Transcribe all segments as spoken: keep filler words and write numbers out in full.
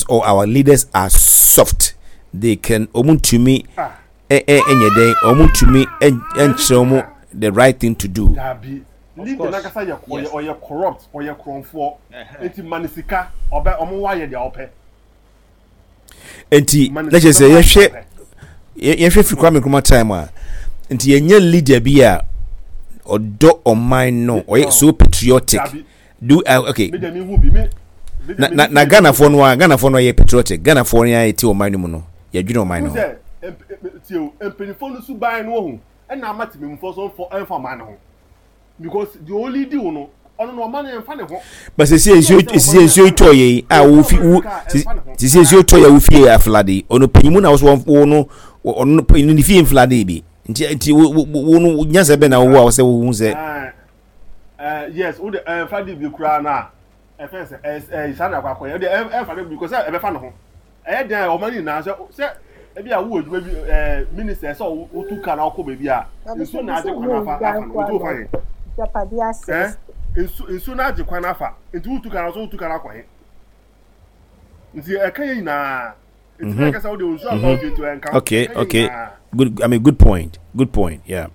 politicians or our leaders are soft. They can ɔmo ntumi ɛ ɛ ɛnyɛ dɛn, ɔmo ntumi ɛnkyerɛ ɔmo the right thing to do. Dabi, leader nankasa yɛ ɔyɛ ɔyɛ corrupt, ɔyɛ korɔnfoɔ, eti ma ne sika, ɔbɛ ɔmo wa yɛ deɛ ɔpɛ. Nti na kyerɛ sɛ yɛhwɛ yɛhwɛ firi Kwame Nkrumah time a, nti yɛnyɛ leader bi a ɔdɔ ɔman no, ɔyɛ so patriotic do uh, okay na na na Ghanafoɔ no a, Ghanafoɔ no yɛ patriotic? Ghanafoɔ no a yɛte ɔman no mu no, yɛdwene ɔman no ho? Tie o, mpanyinfoɔ no suban no ohu ɛna ama tìmɛmufoɔ so nfɔ ɛnfa ɔman no ho, because deɛ ɔlead wo no, ɔno no ɔman no ɛnfa ne ho. But sisi nsuo sisi nsuo tɔ yɛ yi a wofi wo, sisi nsuo tɔ yɛ, wofi yɛ aflood, ɔno panyin na wɔso wo no, ɔno panyin ne fie nflood bi, nti nti wo wo wo no nyansa bɛ na wo a wɔsɛ wo hu sɛ. ɛɛ yes wo de ɛnfa de bi koraa na ɛfɛn sɛ ɛɛ ɛɛ saa na akɔ akɔyɛ ɛde ɛnfa de bi because ɛbɛfa ne ho. Ɛyɛ dan a ɔman nyinaa sɛ sɛ ebi a wowɔ adwuma bi, ɛɛ minister, sɛ wotu kaa na wokɔ baabi a nsuo na agye kwan afa afa no, nti wofa he ɛɛ nsu nsuo na agye kwan afa, nti wotu kaa na so wotu kaa na akɔ he? Nti ɛka yɛ nyinaa, nti na kasa wode nsuo afa ofie, nti ɛnka. Okay okay good, I mean, good point, good point, yeah.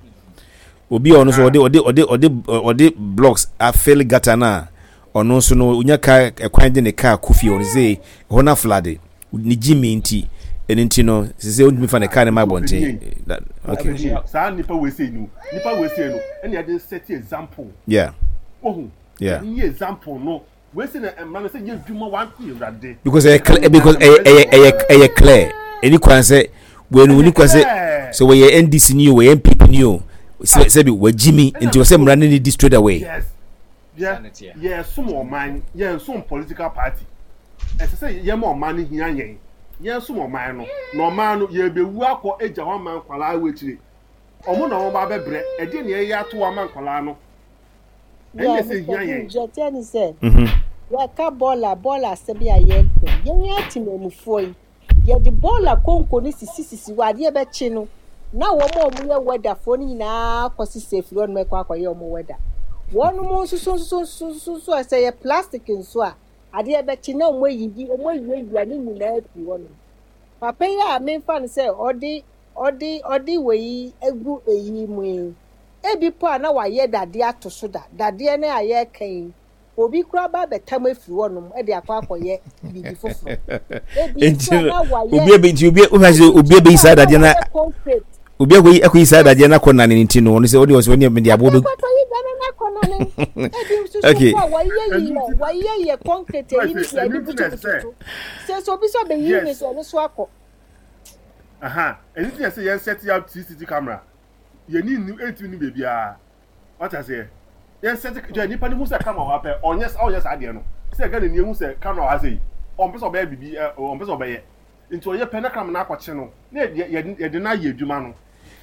Obi a ɔno nso ɔde ɔde ɔde ɔde ɔde blocks afill gutter na ɔno nso no onya kaa ɛkwan de ne kaa kɔ fie, ɔno sɛ ɛhɔ na flood ne gyi mi, nti ɛno nti no sɛ ɔntumi fa ne kaa ne ma abɔnten. Okay. Saa nipa wei sei no, nipa wei sei no, ɛna yɛde set example. Yeah ohun yeah yɛde yɛ example no wei sei na mmara no sɛ yɛ adwuma wa Awurade. Because ɛyɛ clear, because ɛyɛ ɛyɛ ɛyɛ ɛyɛ clear, ɛni kwan sɛ wɔn ni kwan sɛ sɛ wɔyɛ N D C ni o, wɔyɛ N P P ni o, sɛ sɛbi wɔgyi mi, nti wɔsɛ mmara no ni di straight away. Yes, yɛ yɛ som ɔman, yɛn som political party. Ɛsɛ sɛ yɛn ma ɔman no hia yɛn, yɛn som ɔman no, na ɔman no yɛbɛwu akɔ agya hɔ ama nkwalaa wɔ akyire, ɔmo na ɔmo ba bɛbrɛ. Ɛdeɛ na yɛyɛ ato ama nkwalaa no, ɛnyɛ sɛ hia yɛn. Deɛ ne sɛ yɛka bɔɔla bɔɔla asɛm yi a, yɛmpɛ yɛn atemamufoɔ yi, yɛde bɔɔla konko no sisisisi hɔ, adeɛ bɛkye no na wɔn a wɔyɛ wɛdafoɔ no nyinaa kɔ sisi efiri hɔ nom ɛkɔ akɔyɛ wɔn wɛda. Wɔn nso so nso nso nso nso a sɛ yɛ plastic nso a, adeɛ bɛkye na wɔn ayiyi, wɔn awiawia ne nyinaa afiri hɔ nom. Papa yi a memfa no sɛ ɔde ɔde ɔde wei egu eyi mu yi, ebi po a na wayɛ dadeɛ ato so da, dadeɛ no a yɛreka yi, obi kura ba abɛtam afiri hɔnom de akɔ akɔyɛ biribi foforɔ. Ebi nso a na wayɛ Obi ebe nti obi obi sɛ obi ebeyi saa dadeɛ na concrete. Obi akɔyi akɔyi saa dadeɛ na akɔ nane ne ti no, ɔno sɛ ɔde ɔsɛ ɔne mede aboɔ bɛ. Akɔyi dane na akɔ nane. Ebi nso so Okay. po a wayɛ yɛ wayɛ yɛ concrete eyi ne deɛ ɛde butubutu so sɛ sɛ obi sɛ ɔbɛyi ne so, ɔno so akɔ. Aha, ɛno ti na sɛ yɛn set up C C T V camera, yɛn ni ni ɛntumi ni beebiara wate aseɛ. Yɛn set kyɛ nipa ni hu sɛ camera wɔ ha pɛ, ɔnyɛ ɔnyɛ saa adeɛ no sɛ Ghana ni ehu sɛ camera wɔ ha sɛ yi, ɔmpɛ sɛ ɔbɛyɛ bibi ɛ, ɔmpɛ sɛ ɔbɛyɛ, nti ɔyɛ pɛ na camera no akɔkye no na yɛ yɛ yɛde no ayɛ adwuma no.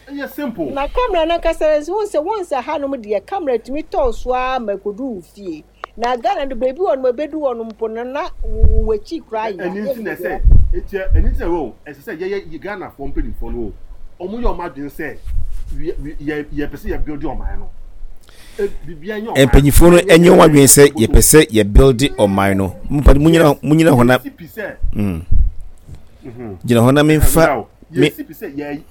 Ɛyɛ simple. Na camera no ankasa nso, wɔn sɛ wɔn sɛ hanom deɛ, camera tumi tɔɔ so ara ma ekodu wo fie. Na Ghana no, beebi wɔ no, ebedu hɔ no mpo no, na wo akyi koraa yɛ. Ɛni nti na ɛsɛ etia, ɛni nti na ɛwɔ ɛsɛ sɛ yɛyɛ Ghanafoɔ mpanimfoɔ no o, wɔn yɛ wɔn adwene sɛ yɛ yɛpɛ sɛ yɛ build ɔman no. Biribiara nyɛ ɔman. Mpanyinfoɔ no ɛnyɛ wɔn adwene sɛ yɛpɛ sɛ yɛ build ɔman no. Munyina munyina hɔ na mm. gyina hɔ na memfa me yɛsi pi sɛ yɛ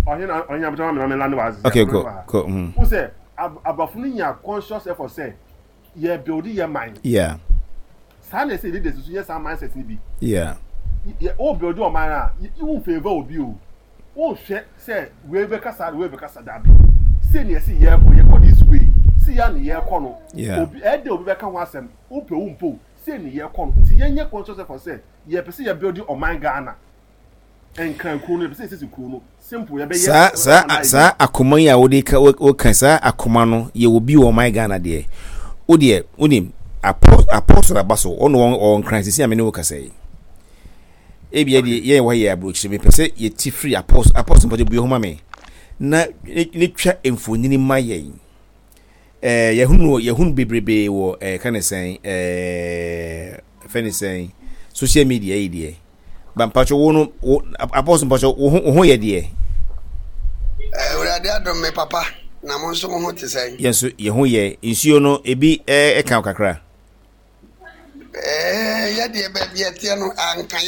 ɔhene ɔhene abotɔ ma mi na mi wa ase. Okay, go go mm. Wo sɛ aborɔfo no nya conscious effort sɛ yɛ build yɛ man. Yeah saa na ɛsɛ leaders nso yɛ saa mindset ni bi. Yeah yɛ o build ɔman a, yi favour obi o, o hwɛ sɛ wei bɛkasa, wei bɛkasa, dabi, sɛ ni ɛsɛ yɛ kɔ, yɛ kɔ this way si ya ne yɛ kɔ no. Yeah obi ɛdɛ obi bɛka ho asɛm, o pɛ o mpo sɛ ni yɛ kɔ no, nti yɛn nyɛ conscious effort sɛ yɛ pɛ sɛ yɛ build ɔman Ghana, Nkran kuro no, yɛ pɛ sɛ yɛsisi kuro no, simple, yɛ bɛ yɛ. saa saa saa akoma yi a wode ka, woka saa akoma no yɛ obi wɔ ɔman Ghana deɛ, wo deɛ wonim Apostle aba so, ɔno ɔwɔ Nkran sisi a me ne wo kasa yi. Ebia deɛ yɛn wɔ yɛ aburokyire, mepɛ sɛ yɛti firi Apostle. Apostle mpɔtɔ bue ho ma me na ne twa mfonini ma yɛn. ɛɛ yɛhunu yɛhunu bebrebe wɔ ɛɛ ka ne sɛn, ɛɛ fɛ ne sɛn, social media yi deɛ ba. Mpatwɛ, wo no wo Apostle, mpatwɛ, wo ho wo ho yɛ deɛ? Awurade adom me papa, na mo nso mo ho te sɛn? Yɛn nso yɛn ho yɛ. Nsuo no ebi ɛɛ ɛka wo kakra? Ɛɛ yɛdeɛ, baabi ɛteɛ no anka